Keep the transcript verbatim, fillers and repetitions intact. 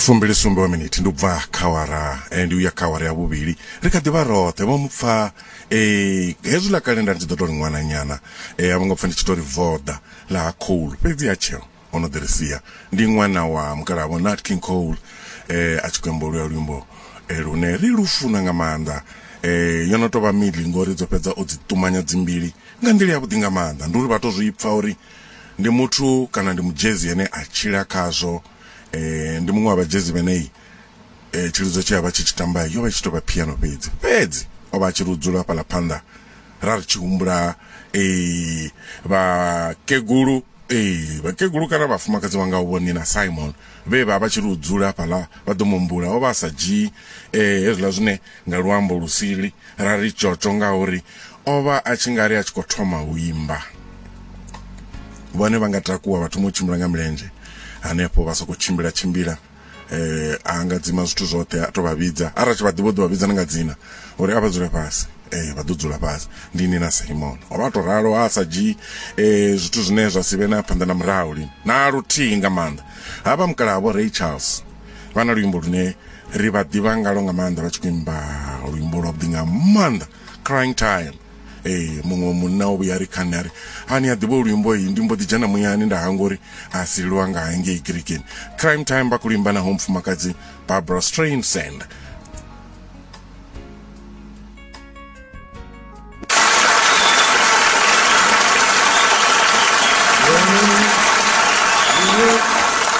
Fumbili sumbe wa miniti ndi u bva kha awara eh, ndi uya kha awara ya vhuvhili. Ri kha ḓivha roṱhe vho mupfa eh, hezwi ḽa kale nda ndi tshi ḓo tou ri ṅwananyana eh, a vho ngo pfa ndi tshi tou ri voḓa ḽa ha Cole, fhedzi ya tsheo o no ḓi ri sia. Ndi ṅwana wa mukalaha vho Nat King Cole eh, a tshi khou imba luya luimbo eh, lune ri lufuna nga maanḓa. eh, yo no tou vha mili ngori dzo fhedza o dzi ṱumanya dzimbili nga nḓila yavhuḓi nga maanḓa. Ndi uri vha to zwi pfa uri ndi muthu kana ndi mudzhezi ane a tshila khazwo. eh, ndi muṅwe wa vhadzhezi vhenei eh, tshilidzo tshe a vha tshi tshi tamba yo vha i tshi tou vha piano fhedzi fhedzi o vha a tshi ri u dzula fhaḽa phanḓa ra ri tshi humbula eh, vhakegulu eh, vhakegulu kana vhafumakadzi vha ngaho vho Nina Simon vhe vha vha tshi ri u dzula hafhaḽa vha ḓo muhumbula. O vha a sa dzhii eh, hezwiḽa zwine nga luambo lusili ra ri tshotsho, ngauri o vha a tshi nga ri a tshi khou thoma u imba. Vhone vha nga takuwa vha thoma u tshimbila nga milenzhe hanefho, vha soko tshimbila tshimbila eh a nga dzima zwithu zwoṱhe a to vha vhidza, arali tshi vha ḓivha u ḓo vha vhidza na nga dzina uri a vha dzule fhasi, eh vha ḓo dzula fhasi. Ndi Nina Simon o vha to ralo, a sa dzhii eh zwithu zwine zwa si vhe na phanḓa na murahu lini na luthihi nga maanḓa. Havha mukalaha vho Ray Charles vha na luimbo lune ri vha ḓivha ngalo nga maanḓa, vha tshi khou imba luimbo lwavhuḓi nga maanḓa, Crying Time. Eh, muṅwe munna o vhuya ri kha nṋe a ri hani a ḓivha luimbo iyi, ndi mbo ḓi dzhena muyani nda hangwa uri a si lwa nga hangei kerekeni. Crime Time vha khou imba naho mufumakadzi Barbara Streisand.